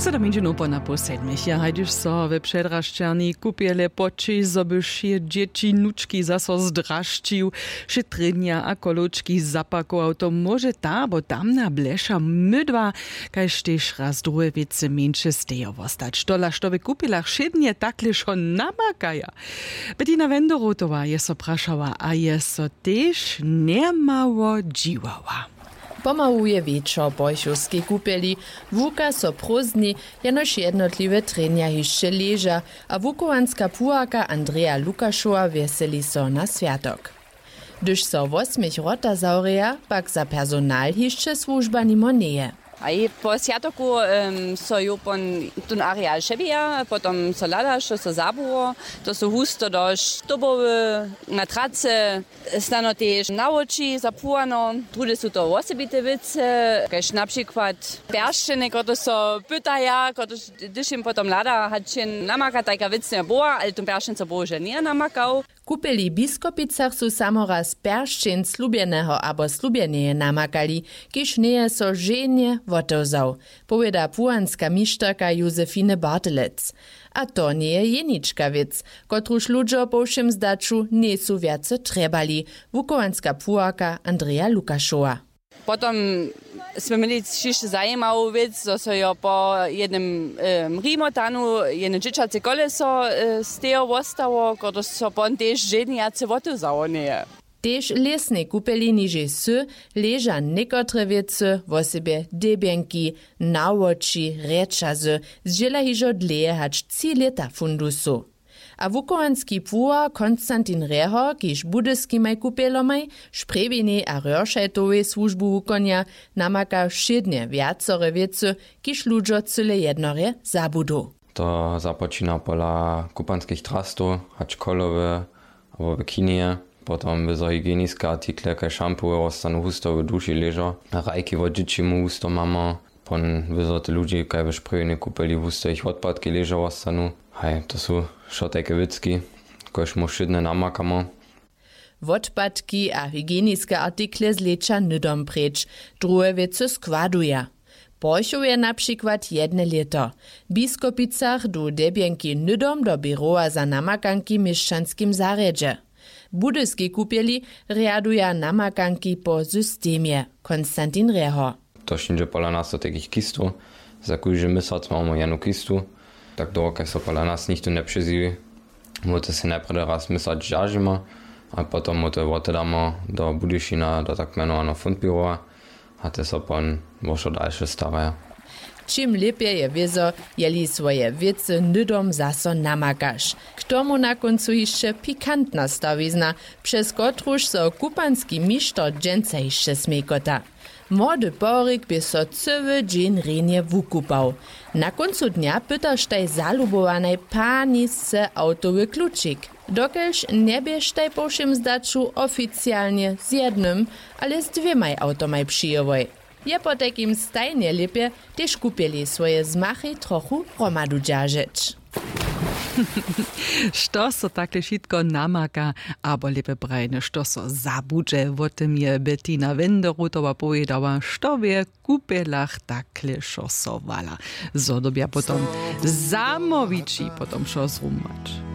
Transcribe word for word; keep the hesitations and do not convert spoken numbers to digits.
Sedom minut po napoł sedmich je, hajduž so we předrašćerni kupjele poćiš, zo by wšě dźěći nučki zaso zdrašćił, šetrjenja a koločki zapakował, to móže ta abo tamna bleša mydła, kaž tež raz druhe wěcy mjeńše stejo wostać. Tola što w kupjelach wšědnje takle wšo namakaja? Bettina Wenderotowa je so prašała a je so tež njemało dźiwała. Pomału je wječor w porchowskej kupjeli. Wuka so prózdni, jenož jednotliwe trjenja hišće leža, a wuchowanska puharka Andreja Lukašowa wjeseli so na swjatok. Hdyž so wosměch wrota zawrěja, pak za personal hišće słužba nimo njeje. A je po swjatoku em, so jo pon tón areal přebija, potom so hlada što so zabuło. To su husto do štobowy, na trace, snano tež na woči zapłano. Druhdy su to wosebite wěcy, kaž na přikład pjeršćenje, kotrež so pytaja, kotrež, hdyž jim potom hlada hač jen namaka, tajka wěc njeje była, ale tón pjeršćeń so bohužel njeje namakał. W kupjeli w Biskopicach su samo raz pjeršćeń slubjeneho abo slubjeneje namakali, kiž njeje so ženje wotewzał, powěda puhanska mišterka Josefine Bartelec. A to njeje jenička wěc, kotruž ludźo po wšěm zdaću njejsu wjace trjebali, wuchowanska puharka Andreja Lukašowa. Potom smy měli hišće zajimawu wěc, zo so jo po jednym em, rimotanu jedne dźěćace koleso e, stejo wostało, kotrež so pon tež ženjace wotewzało njeje. Tež w lěsnej kupjeli nižej sy leža někotre wěcy, wosebje debjenki, nawoči, rjećazy, zdźěla hižo dlěje hač tři lěta fundusu. A wuchowanski puhar Konstantin Rehor, kiž budyskimaj kupjelomaj, Šprjewinej a Rjoršajtowej słužbu wukonja, namaka wšědnje wjacore wěcy, kiž ludźo cyle jednorje zabudu. To započina pola kupanskich trastow, hač kolowy abo w kineje. Potom wyzo hygieniske artikle kaž šampuły wostanu husto w duši ležo. Hrajki wot dźěći mu husto mamy. Pon wyzo te ludźi kaj w šprjewjenej kupeli husto jich wotpadki ležo wostanu. Haj, to su wšo tajke wěcki, kož mu wšědnje namakamy. Wotpadki a hygieniske artikle zlěća hnydom preč, druhe wěcy składuja. Porchowje na přikład jedne lěto. W Biskopicach du debjenki hnydom do běrowa za namakanki w měšćanskim zarjedźe. W budyskej kupjeli rjaduja namakanki po systemje. Konstantin Rehor. To šniće pola nas do takich kistow. Za kóždy měsac mamy jednu kistu. Tak dołho kaž so pola nas nichtó njepřeziwi, móhł to sej najprjedy raz měsac dźeržimy, a potom móhł to wotedamy do budyšina do tak mjenowaneho fundběrowa. A te so pon wo wšo dalše staraja. Čim lěpje je wězo, jeli swoje wěcy hnydom zaso namakaš. K tomu na kóncu hišće pikantna stawizna, přez kotruž so kupanski mišter dźensa hišće smjejkota. Młody porik bě so cyły dźeń rjenje wukupał. Na kóncu dnja pytaštaj zalubowanaj panisce awtowy klučik. Dokelž njeběštaj po wšěm zdaću oficialnje z jednym, ale z dwěmaj awtomaj přijěłoj. Je potajkim stajnje lěpje, tež kupjeli swoje zmachej trochu hromadu dźeržeć. Što so takle wšitko namaka, abo lěpje prajene što so zabudźe, wo tym je Bettina Wenderutowa powědała, što wě w kupjelach takle wšo so wala, zo dyrbja potom zamołwići potom wšo zrumować.